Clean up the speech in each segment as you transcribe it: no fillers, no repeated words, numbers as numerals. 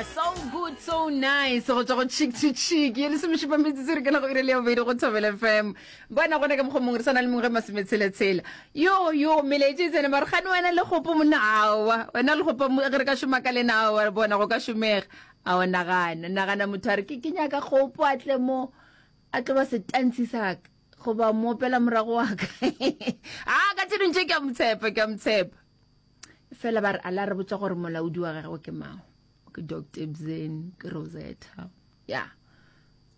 So good, so nice. Go tswa go chick to chick. Ye lesomešupa metsotso re kena go ire le ya bobedi go Thobela FM. Bona gona ka mokgwa mongwe re sa na le mongwe masometshela-tshela. Yo yo melaetša e tsene mare gane wena le gopo monna aowa. Wena le gopo ge re ka šoma ka lena aowa bona go ka šomega. Ao nagana, nagana motho a re ke ke nyaka gopo a tle mo a tlo ba setantshi sa ka goba moopela morago wa ka. A ka tše dingwe tše ke a mo tshepa, ke a mo tshepa. Fela ba re a la re botša gore molaodi wa gagwe ke mang. Ke Doctor Bzen, ke Rosetta. Ya.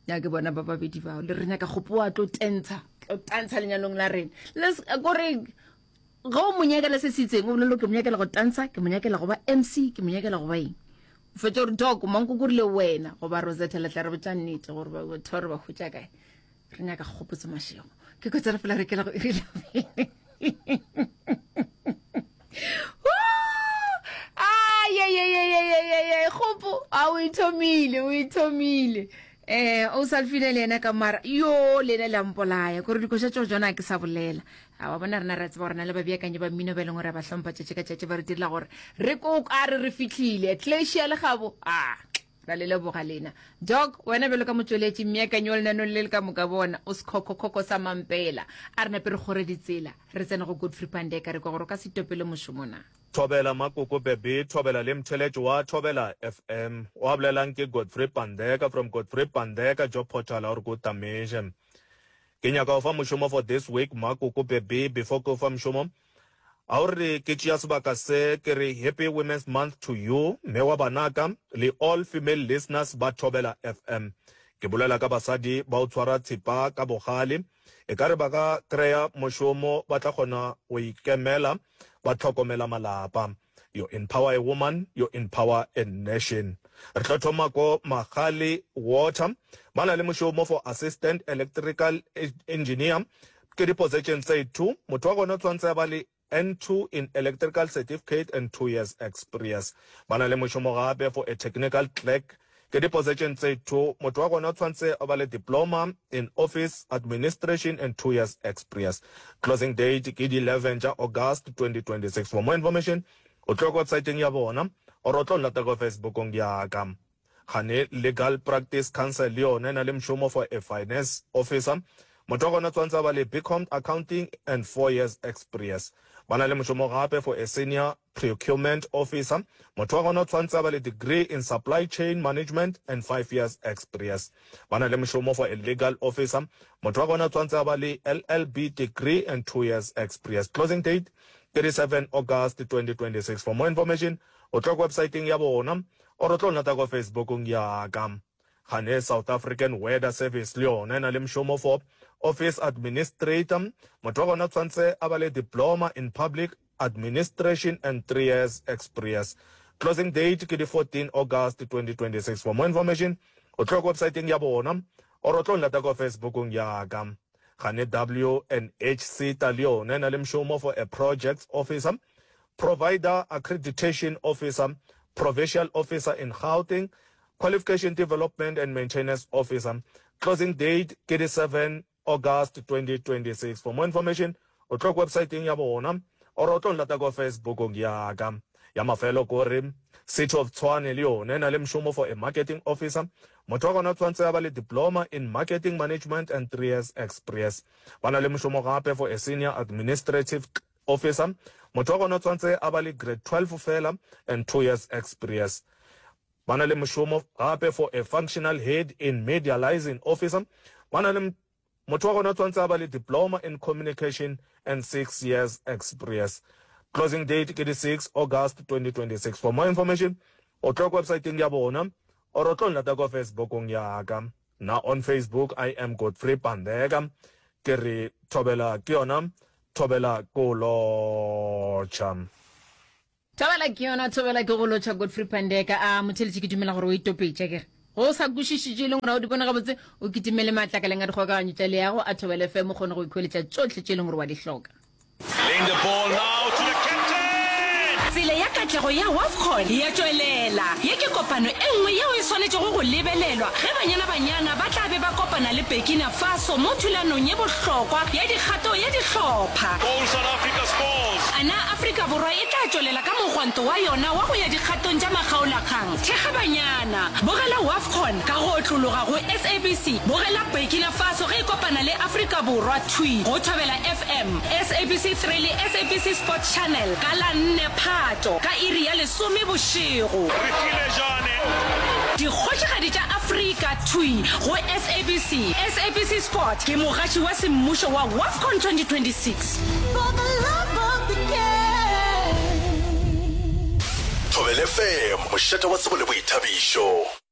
Ya ke bona ba babedi bao. Le re nyaka kgopo wa tlo tentsha, tlo tantsha lenyalong la rena. Le kore ge o mo nyakela se se itseng, o bolele ke mo nyakela go tantsha, ke mo nyakela go ba MC, ke mo nyakela go ba eng. O fetša gore Doc, mankoko rile wena goba Rosetta le tla re botša nnete gore batho ba re ba hwetša kae. Re nyaka kgopotso mašego. Ke kotse re fela re kela go iri la kgopo a o ithomile o ithomile eh o sa lfile le yena ka mara yo le ena le a mpolaya kore dikoša tšeo tsona ke sa bolela a wa bona rena re tseba gore na le babeakanyi ba mmino ba e leng gore ba hlompha tšatši ka tšatši ba re direla gore re ko ka re re fitlhile tlesia le gabo a Ra le leboga lena. Doc, wena bjalo ka motšweletši, mmeakanyi wa lenaneo le le ka moka bona, o sekhokhokhokhho sa mampela. A re nape re kgore ditsela, re tsene go Godfrey Pandeka re kwe gore o ka se itopele mošomo na. Thobela Makoko Beby, Thobela le Mtheletšo wa Thobela FM. O a bolelang ke Godfrey Pandeka from Godfrey Pandeka Job Portal a o re ko tameše. Ke nyaka go fa mošomo for this week Makoko Beby before ke o fa mošomo A o re ke tšea sebaka se ke re Happy Women's Month to you mme wa banaka le all female listeners ba Thobela FM. Ke bolela ka basadi ba o tshwara tshipa ka bogale, ekare ba ka kreya mošomo ba tla kgona go ikemela ba hlokomela malapa. You empower a woman, you empower a nation. Re tlo thoma ko Magale Water, ba na le mošomo for Assistant Electrical Engineer, ke di position tse two, motho wa gona o tshwanetse a ba le N2 in Electrical Certificate and 2 years experience. Ba na le mošomo gape for a Technical Clerk, ke di position tse two, motho wa gona o tshwanetse a ba le Diploma in Office Administration and 2 years experience. Closing date ke di 11 tša August 2026. For more information o tlo ko websiteng ya bona or o tlo nlata ko Facebookong ya ka. Kgane Legal Practice Council le yona e na le mošomo for a finance officer. Motho wa gona tshwanetse a ba le BCom Accounting and 4 years experience. Ba na le mošomo gape for a senior procurement officer. Motho wa gona o tshwanetse a ba le degree in supply chain management and 5 years experience. Ba na le mošomo for a legal officer. Motho wa gona o tshwanetse a ba le LLB degree and 2 years experience. Closing date 37 August 2026. For more information o tlo ko websiteng ya bona or o tlo nlata ko Facebookong ya ka. Gane South African Weather Service le yona e na le mošomo for Office Administrator. Motho wa gona o tshwanetse a ba le Diploma in Public Administration and 3 years experience. Closing date ke di 14 August 2026. For more information o tlo ko websiteng ya bona or o tlo nlata ko Facebookong ya ka. Gane W and H SETA le yona e na le mošomo for a Projects Officer. Provider Accreditation Officer, Provincial Officer in Gauteng, Qualification Development and Maintenance Officer. Closing date ke di 7 August 2026. For more information, o tlo ko websiteng ya bona or o tlo nlata ko Facebookong ya ka. Ya mafelo ko re City of Tshwane le yona e na le mošomo for a marketing officer. Motho wa gona o tshwanetse a ba le diploma in marketing management and 3 years experience. Ba na le mošomo gape for a senior administrative Officer, motho wa gona o tshwanetse a ba le grade 12 fela and 2 years experience. Ba na le mošomo gape for a functional head in media liaison officer. Ba na le motho wa gona o tshwanetse a ba le diploma in communication and 6 years experience. Closing date ke di 6 August 2026. For more information o tlo ko websiteng ya bona or o tlo nlata ko Facebookong ya ka. Nna on Facebook I am Godfrey Pandeka. Ke re thobela ke yona thobela ko lotšha. Thobela ke yona thobela ke go lotšha Godfrey Pandeka. A motheletši ke dumela gore o itopetše akere. Go sa kwešišitše e leng gore ga o di bone gabotse o kitimele matlakaleng a dikgokaganyo tša leago a Thobela FM o kgone go ikhweletša tšohle tše e leng gore wa di hloka. Laying the ball now to the captain. Tsela ya ka. katlego ya Wafcon e a tšwelela. Ye ke kopano e nngwe yeo e swanetšego go lebelelwa ge Banyana Banyana ba tla be ba kopana le Burkina Faso mo thulanong ye bohlokwa ya dikgato ya dihlopha. Goal South Africa scores! A na Afrika Borwa e tla tšwelela ka mogwanto wa yona wa go ya dikgatong tša makgaolakgang? Thekga Banyana! Bogela Wafcon ka go otlologa go SABC. Bogela Burkina Faso ge e kopana le Afrika Borwa thwi go Thobela FM, SABC 3 le SABC Sports Channel ka la nne Phato ka iri ya lesome bošego. Re filejane. Dikgošigadi tša Afrika thwi go SABC. SABC Sport ke mogaši wa semmušo wa Wafcon 2026. For the love of the game. Thobela FM, mošate wa tsebo le boithabišo.